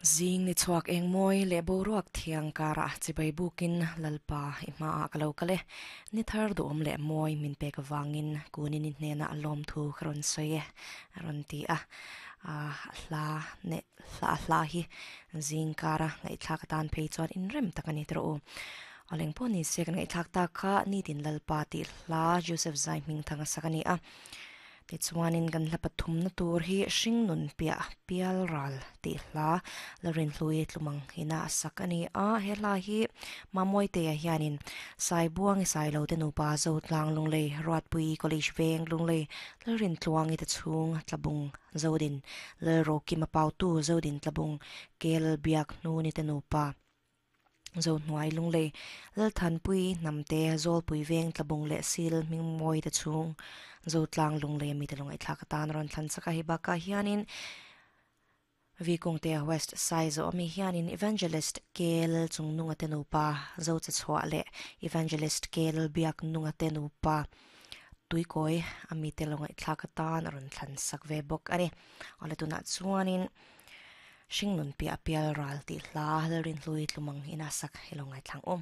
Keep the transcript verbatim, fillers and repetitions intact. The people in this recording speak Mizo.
Zing ni chhuak eng mawi leh boruak thiang karah chibai bukin Lalpa i hmaah ka lo kal e. Ni thar duhawm leh mawi min pek avangin kunin i hnenah lawm thu ka rawn sawi e a rawn ti a. A hla ne hla hla hi zing kara ngaihthlak atan phei chuan inrem tak a ni tawh u. Awleng pawh ni se kan ngaihthlak tak kha nitin Lalpa tih hla Joseph Zai hming thang a sak a ni a. Tichuanin kan hla pathumna tur hi hringnun piah pial ral tih hla la rinhlui tlumang ina a sak a ni a. He hla hi Mamawiteia hianin Saibuang i Sailo te nupa Zotlang Lunglei Ruatpui College Veng Lunglei Lalrintluangi te chhung Tlabung Zodin Lalrokima Pautu Zodin Tlabung Kel Biak Hnuni te nupa Zohnuai Lunglei Lalthanpui Hnamte Zawlpui Veng Tlabung leh Sil Hmingmawi te chhung Zotlang Lunglei ami te lungaihthlak atan rawn thlan chak a. Hei bakah hianin Vikungtea West Saizaw ami hianin Evangelist Kel Chungnunga te nupa Zochachhuah leh Evangelist Kel Biaknunga te nupa Tuikawi ami te lungaihthlak atan a rawn thlan sak ve bawk a ni. Awle tunah chuanin hringnun piah pial ral tih hla Lalrinhlui tlumang ina sak hi lo ngaithlang awm.